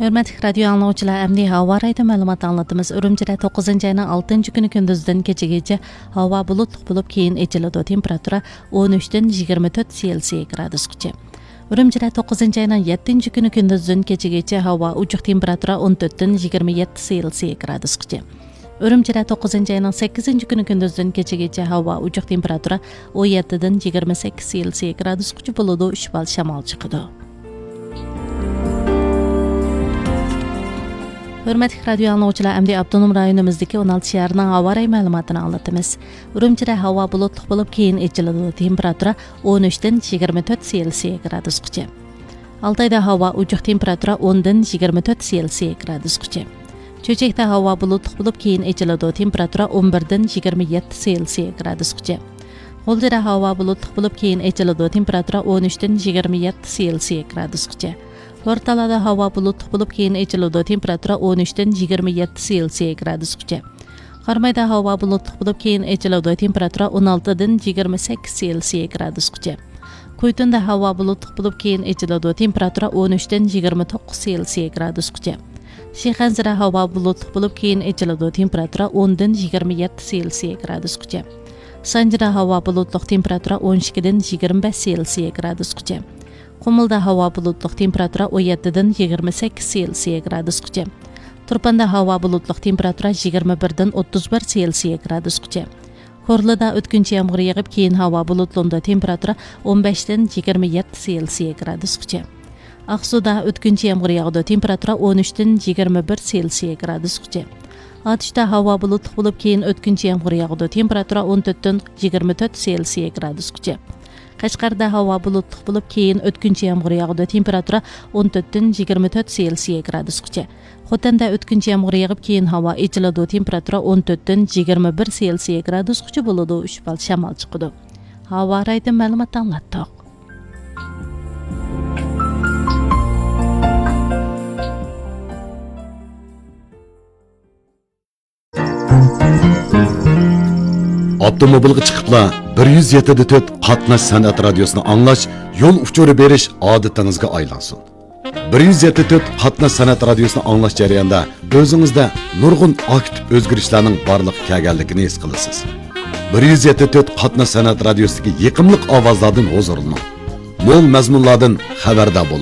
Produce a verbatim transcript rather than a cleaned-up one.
ھۆرمەتلىك رادىيو ئاڭلىغۇچىلار، ئەمدى ھاۋا رايىدا مەلۇمات ئاڭلىتىمىز. ئۈرۈمچىدە توققۇزىنچى ئاينىڭ ئالتىنچى كۈنى كۈندۈزدىن كېچىگىچە ھاۋا بۇلۇتلۇق بولۇپ، كېيىن ئېچىلىدۇ. تېمپېراتۇرا ئون ئۈچتىن يىگىرمە تۆت سېلسىيە گرادۇسقىچە. ئۈرۈمچىدە توققۇزىنچى ئاينىڭ يەتتىنچى كۈنى كۈندۈزدىن كېچىگىچە ھاۋا ئوچۇق، تېمپېراتۇرا ئون تۆتتىن يىگىرمە يەتتە سېلسىيە گرادۇسقىچە. ئۈرۈمچىدە توققۇزىنچى ئاينىڭ سەككىزىنچى كۈنى كۈندۈزدىن كېچىگىچە ھاۋا ئوچۇق، تېمپېراتۇرا ئون يەتتىدىن يىگىرمە سەككىز سېلسىيە گرادۇسقىچە بولىدۇ، ئۈچ بال شامال چىقىدۇ. ھۆرمەتلىك رادىيو ئاڭلىغۇچىلار، ئەمدى ئاپتونوم رايونىمىزدىكى ئون ئالتە شەھەرنىڭ ھاۋا رايى مەلۇماتىنى ئاڭلىتىمىز. ئۈرۈمچىدە ھاۋا بۇلۇتلۇق بولۇپ، كېيىن ئېچىلىدۇ. تېمپېراتۇرا ئون ئۈچتىن يىگىرمە تۆت سېلسىيە گرادۇسقىچە. ئالتايدا ھاۋا ئوچۇق، تېمپېراتۇرا ئوندىن يىگىرمە تۆت سېلسىيە گرادۇسقىچە. چۆچەكتە ھاۋا بۇلۇتلۇق بولۇپ، كېيىن ئېچىلىدۇ. تېمپېراتۇرا ئون بىردىن يىگىرمە يەتتە سېلسىيە گرادۇسقىچە. غۇلجىدا ھاۋا بۇلۇتلۇق بولۇپ، كېيىن ئېچىلىدۇ. تېمپېراتۇرا ئون ئۈچتىن يىگىرمە يەتتە سېلسىيە گرادۇسقىچە. بورتالادا ھاۋا بۇلۇتلۇق بولۇپ، كېيىن ئېچىلىدۇ. تېمپېراتۇرا ئون ئۈچتىن يىگىرمە يەتتە سېلسىيە گرادۇسقىچە. قارامايدا ھاۋا بۇلۇتلۇق بولۇپ، كېيىن ئېچىلىدۇ. تېمپېراتۇرا ئون ئالتىدىن يىگىرمە سەككىز سېلسىيە گرادۇسقىچە. كۇيتۇندا ھاۋا بۇلۇتلۇق بولۇپ، كېيىن ئېچىلىدۇ. تېمپېراتۇرا ئون ئۈچتىن يىگىرمە توققۇز سېلسىيە گرادۇسقىچە. شىخەنزىدە ھاۋا بۇلۇتلۇق بولۇپ، كېيىن ئېچىلىدۇ. تېمپېراتۇرا ئوندىن يىگىرمە يەتتە سېلسىيە گرادۇسقىچە. سانجىدا ھاۋا بۇلۇتلۇق، تېمپېراتۇرا ئون ئىككىدىن يىگىرمە بەش سېلسىيە گرادۇسقىچە. قۇمۇلدا ھاۋا بۇلۇتلۇق، تېمپېراتۇرا ئون يەتتىدىن يىگىرمە سەككىز سېلسىيە گرادۇسقىچە. تۇرپاندا ھاۋا بۇلۇتلۇق، تېمپېراتۇرا يىگىرمە بىردىن ئوتتۇز بىر سېلسىيە گرادۇسقىچە. كورلىدا ئۆتكۈنچى يامغۇر يېغىپ، كېيىن ھاۋا بۇلۇتلىنىدۇ، تېمپېراتۇرا ئون بەشتىن يىگىرمە يەتتە سېلسىيە گرادۇسقىچە. ئاقسۇدا ئۆتكۈنچى يامغۇر ياغىدۇ، تېمپېراتۇرا ئون ئۈچتىن يىگىرمە بىر سېلسىيە گرادۇسقىچە. ئاتۇشتا ھاۋا بۇلۇتلۇق بولۇپ، كېيىن ئۆتكۈنچى يامغۇر ياغىدۇ، تېمپېراتۇرا ئون تۆتتىن يىگىرمە تۆت سېلسىيە گرادۇسقىچە. قەشقەردە ھاۋا بۇلۇتلۇق بولۇپ، كېيىن ئۆتكۈنچى يامغۇر ياغىدۇ، تېمپېراتۇرا ئون تۆتتىن يىگىرمە تۆت سېلسىيە گرادۇسقىچە. خوتەندە ئۆتكۈنچى يامغۇر يېغىپ، كېيىن ھاۋا ئېچىلىدۇ، تېمپېراتۇرا ئون تۆتتىن يىگىرمە بىر سېلسىيە گرادۇسقىچە بولىدۇ، ئۈچ بال شامال چىقىدۇ. ھاۋا رايىدىن مەلۇمات ئاڭلاتتۇق. ئاپتوموبىلغا چىقىپلا بىر يۈز يەتتە دە تۆت قاتناش سەنئەت رادىيوسىنى ئاڭلاش، يول ئۇچۇرى بېرىش ئادىتىڭىزگە ئايلانسۇن. بىر يۈز يەتتە دە تۆت قاتناش سەنئەت رادىيوسىنى ئاڭلاش جەريانىدا ئۆزىڭىزدە نۇرغۇن ئاكتىپ ئۆزگىرىشلەرنىڭ بارلىققا كەلگەنلىكىنى ھېس قىلىسىز. بىر يۈز يەتتە دە تۆت قاتناش سەنئەت رادىيوسىدىكى يېقىملىق ئاۋازلاردىن ھۇزۇرلىنىڭ. مول مەزمۇنلاردىن خەۋەردار بولۇڭ.